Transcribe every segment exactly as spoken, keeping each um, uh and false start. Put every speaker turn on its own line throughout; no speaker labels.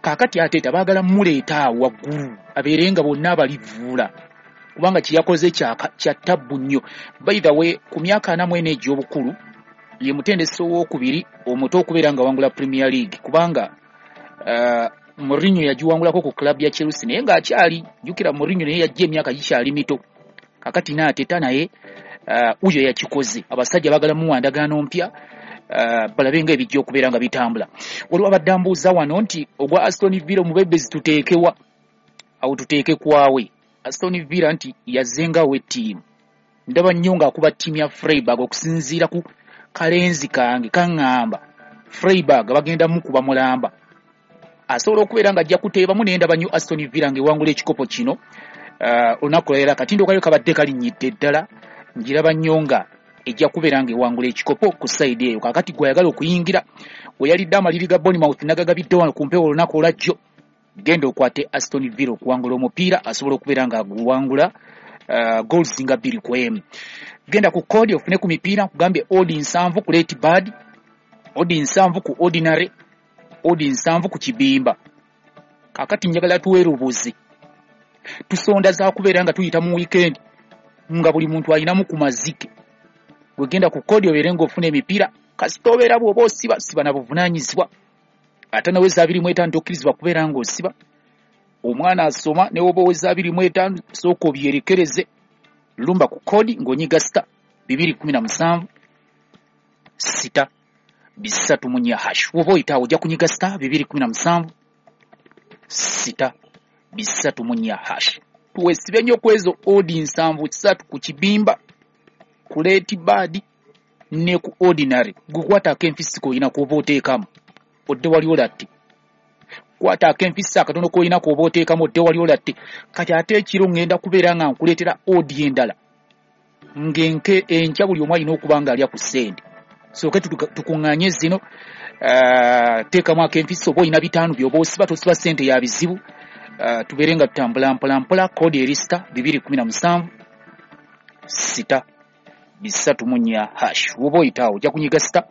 Kaakati Arteta baagala muleeta awo waggulu abeere nga bonna abalivuula, kubanga kye yakoze kya ttabbu nnyo. By the way, ku myaka ana mu ena egy'obukulu ye mutendesi owookubiri omuto okubeera nga wangula Premier League, kubanga uh, Mourinho yagiwangulako ku club ya Chelsea naye ng'akyali, jjukira Mourinho naye yajja emyaka gikyali mito. Kakati n'Arteta naye uh, uyo yakikoze. Abasajja baagala muwa ndagaano mpya, uh, balabe nga ebijja okubeera nga bitambula. Waliwo abadde ambuuza wano nti ogwa Aston Villa omubebezi tuteekewa? Awo tuteeke kwawe. Aston Villa nti yazzengawo ettiimu, ndaba nnyo ng'akuba ttiimu ya Freiburg okusinziira ku kalenzi kange kaŋŋamba Freiburg bagenda mukuba mulamba, asobola okubeera ng'ajja kuteebamu. Naye ndaba nnyo Aston Villa ng'ewangula ekikopo kino olunaku lwaleero. Akatindo kayo kabadde kalinnyidde ddala, ngiraba nnyo nga ejja kubeera ng'ewangula ekikopo ku sayidi eyo. Kaakati gwe ayagala okuyingira, we yalidde amaliri ga Bournemouth nagagabidde wano ku mpewo olunaku olwajjo, genda okwate Aston Villa okuwangula omupiira, asobola okubeera ng'aguwangula uh, goals nga bbiri ku emu. Genda ku kodi ofune ku mipiira, nkugambye odi nsanvu ku late bad, odi nsanvu ku ordinary, odi nsanvu ku kibimba. Kaakati njagala tuweerubuzi, tusonda za kubeera nga tuyita mu weekend nga buli muntu alinamu ku mazike. Wegenda ku kodi obeere ng'ofuna emipiira, kasita obeera bw'oba osiba siba na buvunaanyizibwa. Ate naweza abiri mu etaano tokkirizibwa kubeera ng'osiba. Omwana asoma ne woba oweza abiri mu etaano sooka obyerekereze. Lumba ku kodi ng'onyiga sita bibiri kumi na musanvu sita bisatu mu nnya hash. Woba oyita awo ojja kunyiga sita bibiri kumi na musanvu sita bisatu mu nnya hash. Tuwesibe nnyo ku ezo odi nsanvu ssatu ku kibimba, ku late bad ne ku ordinary. Gukwata ak'enfisi k'olina k'oba oteekamu odde wali olatte. Kwata ak'enfisi akatono k'olina k'oba oteekamu odde wali olatte. Kati ate ekiro ŋŋenda kubeera nga nkuleetera odi endala ng'enke enkya buli omu alina okuba ng'alya ku ssente. Sooke tukuŋŋaanye zino, uh, teekamu ak'enfisi oba olina bitaano by'oba osiba, tosiba ssente ya bizibu. Uh, tubeere nga tutambula mpola mpola. Kodi eri sita bibiri kumi na musanvu sita bisatu mu nnya hash. Woba oyita awo ojja kunyiga sita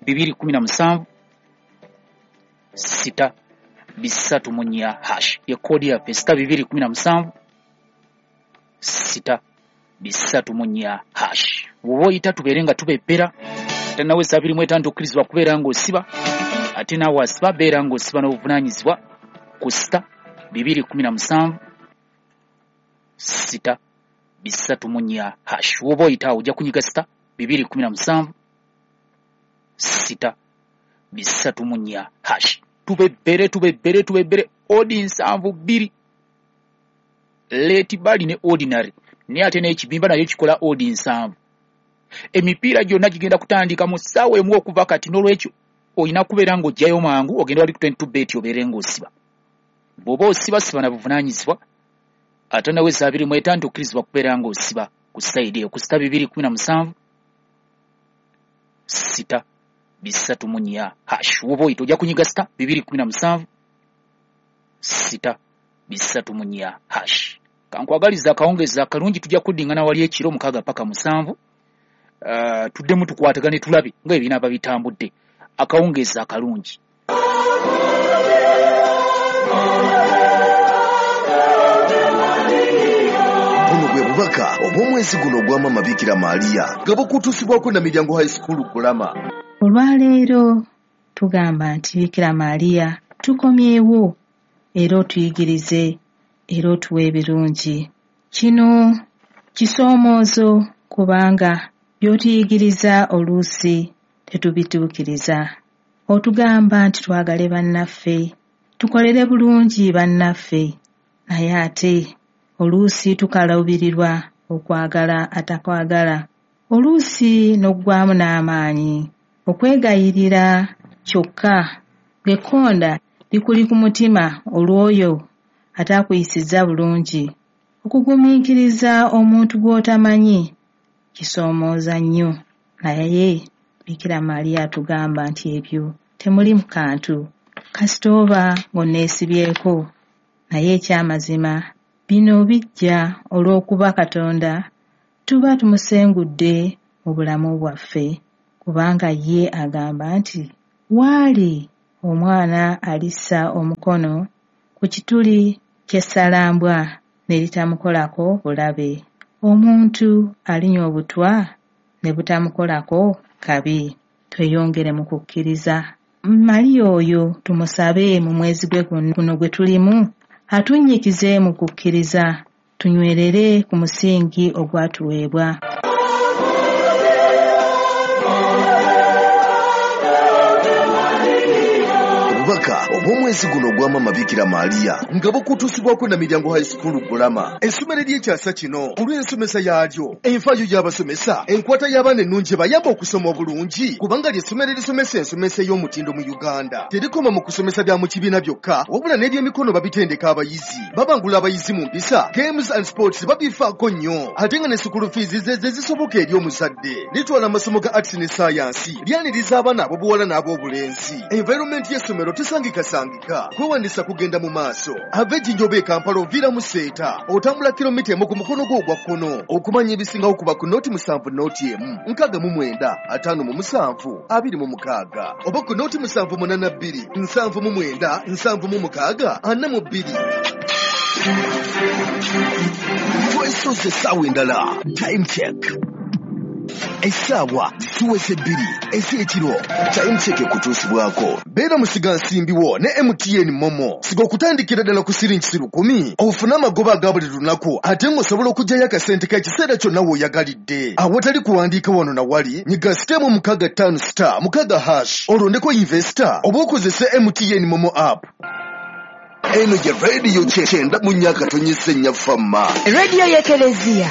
bibiri kumi na musanvu sita bisatu mu nnya hash. Ye kodi yaffe sita bibiri kumi na musanvu sita bisatu mu nnya hash. Woba oyita tubeere nga tubebbera. Ate naweza abiri mu etaano tokkirizibwa kubeera ng'osiba, ate naawe asiba beera ng'osiba n'obuvunaanyizibwa ku sita bibiri kumi na musanvu sita bisatu mu nnya hash. Woba oyita awo ojja kunyiga sita bibiri kumi na musanvu sita bisatu mu nnya hash. Tubebbere tubebbere tubebbere odi nsanvu bbiri late bali ne ordinary, naye ate n'ekibimba nayo kikola odi nsanvu. Emipiira gyonna gigenda kutandika mu ssaawa emu okuva kati, n'olwekyo olina kubeera ng'oggyayo mangu ogenda wali ku twenty two bet obeere ng'osiba. Bw'oba osiba siba na buvunaanyizibwa. Ate naweza abiri mu etaano tokkirizibwa kubeera ng'osiba ku sayidi eyo ku sita bibiri kumi na musanvu sita bisatu mu nnya hash. Woba oyita ojja kunyiga sita bibiri kumi na musanvu sita bisatu mu nnya hash. Kankwagaliza akawungeezi akalungi, tujja kuddingana wali ekiro mukaaga paka musanvu. Uh, tuddemu tukwatagane tulabe nga ebinaaba bitambudde. Akawungeezi akalungi.
Buno bwe bubaka obw'omwezi guno ogwa Maama Bikira Maria nga bukutuusibwako na Miryango High School Kulama.
Olwaleero tugamba nti Bikira Maria tukomyewo era otuyigirize era otuwe ebirungi. Kino kisoomoozo kubanga by'otuyigiriza oluusi tetubituukiriza. Otugamba nti twagale bannaffe, tukolere bulungi bannaffe, naye ate oluusi tukaluubirirwa okwagala atakwagala. Oluusi n'oggwamu n'amaanyi okwegayirira kyokka ng'ekkonda likuli ku mutima olw'oyo ataakuyisizza bulungi. Okugumiikiriza omuntu gw'otamanyi kisoomooza nnyo, naye Bikira Maria atugamba nti ebyo temuli mu kantu, kasita oba ng'onneesibyeko. Naye ekyamazima bino bijja olw'okuba Katonda tuba tumusengudde mu bulamu bwaffe, kubanga ye agamba nti waali Omwana alissa omukono ku kituli ky'essalambwa ne litamukolako bulabe. Omuntu alinywa obutwa ne butamukolako kabi. Tweyongere mu kukkiriza. Maria oyo tumusabe mu mwezi gwe guno gwe tulimu atunnyikize mu kukkiriza, tunywerere ku musingi ogwatuweebwa.
Obubaka obw'omwezi guno ogwa Maama Bikira Maria nga bukutuusibwako na Miryango High School Bulama, essomero ery'ekyasa kino olw'ensomesa yaalyo, enfaayo y'abasomesa, enkwata y'abaana ennungi ebayamba okusoma obulungi, kubanga ly'essomero erisomesa ensomesa ey'omutindo mu Uganda. Terikoma mu kusomesa bya mu kibiina byokka, wabula n'ebyemikono babitendeka abayizi, babangula abayizi mu mpisa, games and sports babifaako nnyo, ate nga ne school fees ze ze zisoboka eri omuzadde. Litwala amasomo ga arts ne science, lyaniriza abaana ab'obuwala n'ab'obulenzi. Environment y'essomero tesangikasangika, kwewandiisa kugenda mu maaso. Ava Ejjinja oba e Kampala oviira mu Seeta, otambula kilomita emu ku mukono gwo ogwa kkono. Okumanya ebisingawo kuba ku nooti musanvu nooti emu nkaaga mu mwenda ataano mu musanvu abiri mu mukaaga oba ku nooti musanvu munaana bbiri nsanvu mu mwenda nsanvu mu mukaaga ana mu bbiri. Twesoze essaawa endala. Time check. Essaawa ziweze bbiri ez'ekiro. Time check ekutuusibwako. Beera musigansimbi wo ne M T N Momo. Siga okutandikira ddala ku siringi lukumi ofune amagoba aga buli lunaku, ate ng'osobola okuggyayo akasente k'ekiseera kyonna w'oyagalidde. Awatali kuwandiika wano na wali, nyiga sitemu mukaaga ttaano star mukaaga hash olondeko investor oba okozese M T N Momo app. Eno ye radio kyenda mu myaka tonyise nnyafamma.
Radio y'Ekelezia.